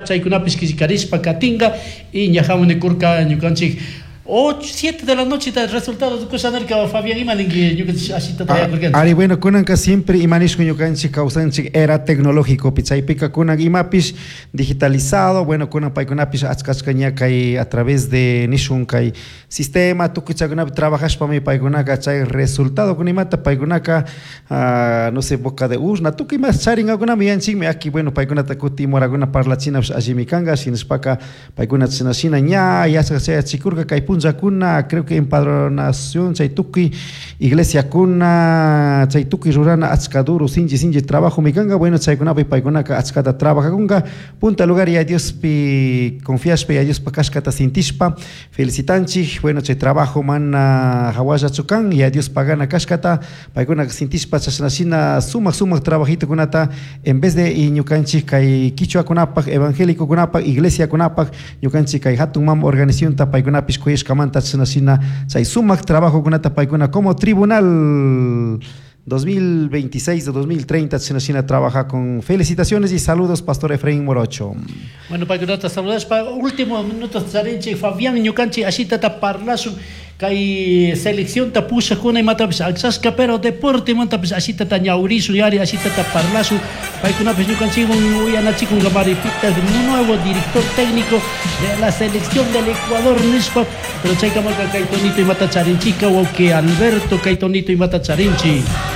Chaykunapish killkarishpa katinka y ñajamun nikurka ñukanchik 8, 7 de la noche resultado kusha nirka. Fabián, ima ninki ñukanchik ashitata yakurkanchik? Ari, bueno, kunanka siempre imanishku ñukanchik kawsanchik era tecnológico chaypika kunan imapish digitalizado. Bueno, kunan paykunapish achka achka ña kay a través de nishun kay sistema tukuy chaykunapi trabajashpami paykunaka chay resultado kunimata paykunaka, no sé, boca de urna tukuy imas charinkakunami yanchikmi aki. Bueno, paykunata kutin morakuna parlachinapish allimi kanka. Shinashpaka paykuna chashna shina ña yachak chayachikurka kay punllakuna, creo que empadronación chay tukuy iglesiakuna chay tukuy rurana achka duro, sinchi sinchi trabajomi kanka. Bueno, chaykunapi paykunaka achkata trabajakunka, punta lugar ya Diospi confiashpa, ya Diospa kashkata sintishpa. Felicitanchik. Bueno, chay trabajo mana hawallachu kan, ya Dios pagana kashkata paykunaka sintishpa chashna shina sumak sumak trabajitokunata en vez de y ñukanchik kay kichwakunapak, evangélicokunapak, iglesiakunapak, ñukanchik kay hatun mama organizacionta paykunapish kuyashkamanta chashna shina chay sumak trabajokunata paykuna como tribunal 2026 o 2030 chashna shina trabaja con. Felicitaciones y saludos, pastor Efraín Morocho. Bueno, paykunata saludashpa último minutos charinchik. Fabián, ñukanchik ashitata parlashun kay seleccionta pushakuna imatapish akllashka, pero deportemantapish ashitata ñawrishun yari, ashitata parlashun. Paykunapish ñukanchikwan uyanachikunkamari pitaq nuevo director técnico de la selección del Ecuador nishpa. Pero chaykamaka kay tonito imata charinchika, wawqi Alberto, kay tonito imata charinchik.